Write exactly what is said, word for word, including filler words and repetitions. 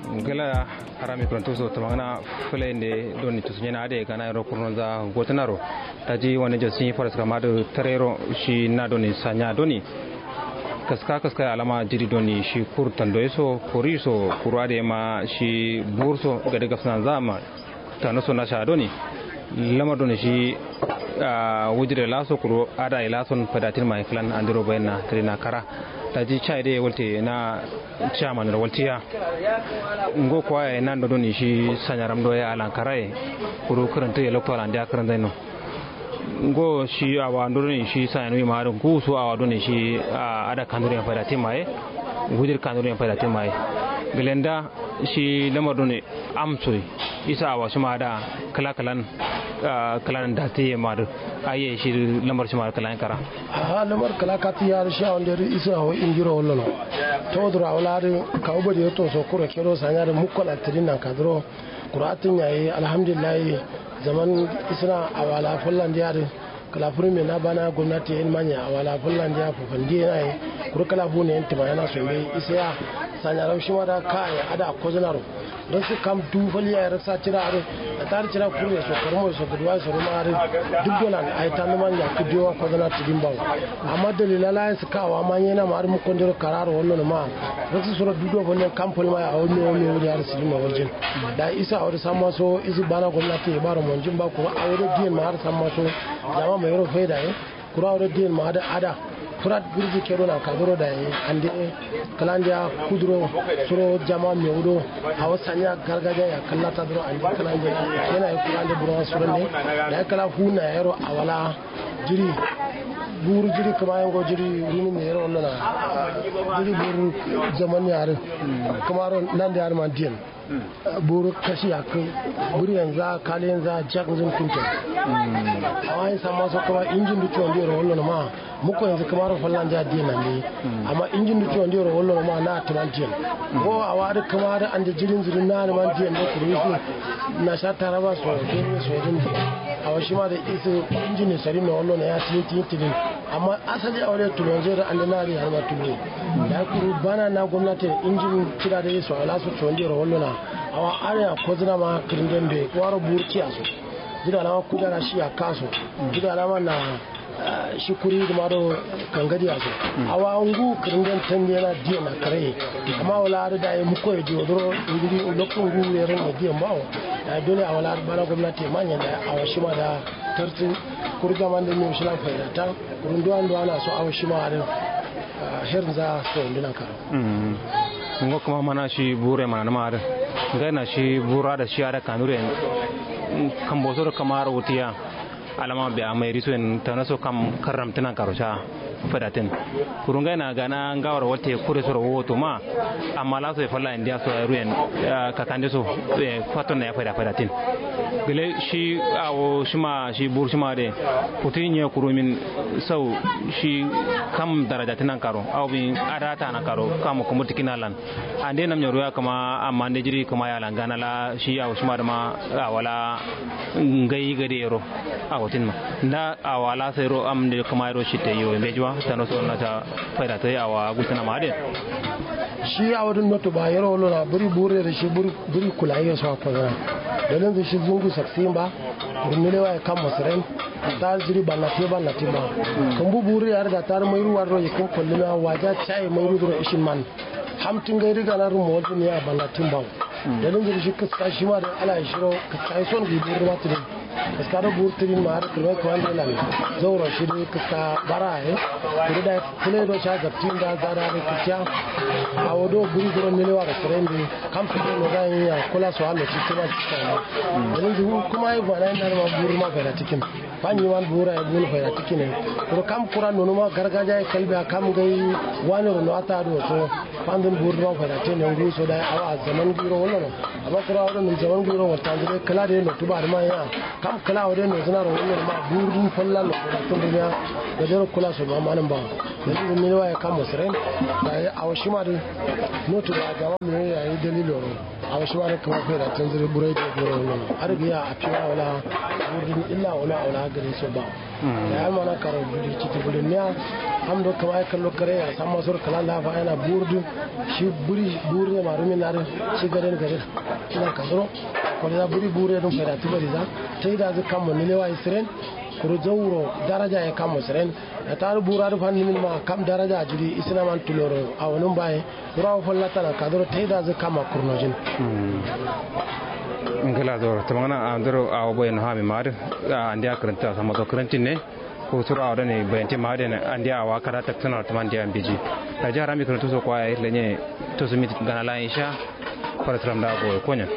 Ngla harami kǝrantu so tǝmangǝna fǝlainde doni tusunyena adǝ ye gana yero kurnonza gotǝnaro. Daji wane josi faraskam adǝ tarero shi na doni sanya doni kaska kaska alama jiri doni shi kur tando ye so kori so kuru adǝ ye ma shi bur so gade gabsǝnanza ma tano so nasha doni lamar doni shi wujire laso kuru ada ye lason fadatin ma ye klan andiro bayanna tǝrina kara. Daji chai dǝ ye walte na chairman ro waltiya. Ngo kwa ye nando doni shi sanyaram do ye alankara ye kuru kǝrantǝ ye lokto alandiya kǝranzaino. Ngo shi awa ndo doni shi sanyanu ye ma adǝ ngu so awa doni shi ada kanduro ye fadatin ma ye wujir kanduro ye fadatin ma ye. Gǝlenda shi lamar doni amsoi isa awa shima da kǝla kǝlan kǝlan dati ye ma dǝ. Aiye shi lamar shima da kǝlan kara. Aha lamar kǝla kati ya dǝ shi awa nde dǝ isa awa injiro wallono. Toduro awa la dǝ kawu bade yetto so kuro kedo sanya dǝ mukko la tǝdin nan kaduro. Kuro atǝn yayi alhamdulillahi. Zaman isǝna awa la fallan diya dǝ kǝla fǝrǝme na bana gomnati ye ilmanya awa la fallan diya fufandi ye naye. Kuru kǝla fune yen tǝma yena so mbeyi isa ya sanyaram shima da kaye ada kozǝnaro. Raksa kam duwu fal yaye raksa cira adǝ. Atar cira kurre so karmo so gǝduwa so ruma adǝ duk dolan ayi tandǝman yakkǝ diyowa kodana tǝdin bawo. Amma dalila laye sǝkka awa ma nyena ma adǝ mukkondero kararo wallono ma. Raksa suro duk do fallen kam fal ma ye awo mewo mewo diya adǝ sǝdin no waljin. Dayi isa awo dǝ samma so isǝ bana gomnati ye baro monjin ba kuru awo dǝ diyen ma adǝ samma so jama mayero faida ye. Kuru awo dǝ diyen ma adǝ ada fǝrat gǝrji kedo nan kaduro dayi ande kǝlandiya kuduro suro jama mewu do. Awo sanya gargajiya ya kǝllata duro ande kǝlande yena ye kǝlande burma suro ne. Dayi kǝla fu na yero awa la jiri buru jiri kǝma yengo jiri rumin ne yero wallo na jiri buru zaman ya adǝ kǝmaro nande adǝ man diyen. Boro kashi yakkǝ bǝriyenza kalenza jaknzǝn kunten. Awa ye samma so kǝma injin dǝ condi yero wallono ma mukko yenzu kǝmaro fallandiya diyen nandi. Amma injin dǝ condi yero wallono ma na tǝman diyen. Ngo awa adǝ kǝma adǝ ande jirinzǝ dǝ na tǝman diyen do kuru isǝ nasha taraba so benue so ye dǝn diyen. Awo shima dǝ isǝ injin ye sarin no wallono ya tiyin tiyin tidin. Amma asali awo dǝ tulonzǝ ye dǝ ande na adǝ yarima tulonzǝ. Dayi kuru bana na gomnati ye injin cida dǝ ye so awo la so condi yero wallono. Awa adǝ ya kozǝna ma kǝrǝnden be waro bur ciya so. Jida alama kujara shi yakka so. Jida alama na shi kuri dǝma do kangadi ya so. Awa ngu kǝrǝnden tandi yena diyen na karaye. Amma awo la adǝ dayi mukko ye diyo duro ngiri loktu ngu ye ran ye diyen bawo. Dayi dole awo la adǝ bana gomnati ye manyen dayi awo shima da tartǝ. Kuru jaman dǝ mewu shilan faidata. Kuru nduwa nduwa na so awo shima adǝ. Hernza so ndunan karo. Ngo kǝma mana shi bure mana nǝma adǝ ngai na shi bura da shi adǝ kanure. Kambo so dǝ kǝma adǝ wutiya. Alama biya mairi so yen tana so kam karramtǝ nan karo sha fadatin. Kuru ngai na gana ngawaro walte kure soro woto ma. Amma laso ye falla indiya so ruyen kakande so faton na ya fada fadatin. Gǝle shi awo shima shi bur shima de kutu nye kurumin sau shi kam daraja tinan karo awo bin adata na karo kam kumur tikina lan. Ande nam nyoro ya kama amma nde jiri kama ya langana la shi awo shima dama awala ngai gade yero awo tin ma nda awala sai ro am nde kama yero shi te yo mbejuwa tano so na ta faida ta awa gutana ma de. Shi awo dun noto ba yero lona buri bure da shi buri buri kula yero so ko na dalin shi zungu saksimba. Rundulewa ye kammo sǝren. Tar jiri ballati ballati ba. Kǝmbu buri yar da tar mairu warro ye kǝm kollina waja caye mairu duro ishin man. Hamtin gairi gana rumo wajin ya ballatin bawo. Dalin jiri shi kǝska shima da ala ye shiro kǝska ye son gi buri ma tǝrin. Kǝska do buri tǝrin ma har kǝlmai kǝman de lan zauro shi dai kǝska bara ye. Kuru da kǝlai do sha gabtin da zada da kǝskiya. Awo do buri duro nilewa da sǝren dai. Kam fito no ga yin ya kula so allo ci kima ci kama. Yanzu kuma yi bana yin narma buru ma faida cikin. Fanyi man bura ya buru faida cikin ne. Kuro kam kura nono ma gargaja ya kalbi a kam gai wani rono ata do so. Fandun buru ma faida cikin ne ngu so da awa zaman giro wala no. Amma kura wala nun zaman giro wala tanzu dai kala da yin no tuba da ma ya. Kǝla awo dǝ nozǝna ro wullo ma burudǝn falla lo. Tǝndǝmiya gadero kula so ma manǝn bawo. Dalilin miliwa ye kammo sǝren. Dayi awo shima dǝ notu ba gama meye yayi dalilo ro. Awo shima dǝ kǝma faida tǝnzǝ dǝ burai dǝ ye duro wullo ma adǝ gǝya afiwa wala burudǝn illa wala wala gade so bawo. Dayi almana karo duli citi bulin niya. Am do kǝma ye kallo kare ya samma soro kǝla lafa yana burudǝ. Shi buri buri ye ma rumin na dǝ shi gaden gade. Nan kasuro. Koliza buri buri ye dǝn faida tǝ bariza. Taidazǝ kammo nilewa ye sǝren. Kuru zauro daraja ye kammo sǝren. Yata'adu bura dǝ fanni min ma kam daraja jiri isina man tuloro awonǝm baye. Kuru awo fallata nan kaduro taidazǝ kamma kurnojin. Ngla zoro tǝmangana andero awo boye no hami ma adǝ. Andiya kǝrǝnta samma so kǝrǝntin ne. Kuru suro awo done bayantin ma adǝ andiya awo kada taksana tǝman diya mbiji. Daji harami kǝrǝntu so kwaya lenye. Tosumi gana layin sha. Farasram da goyo konyen.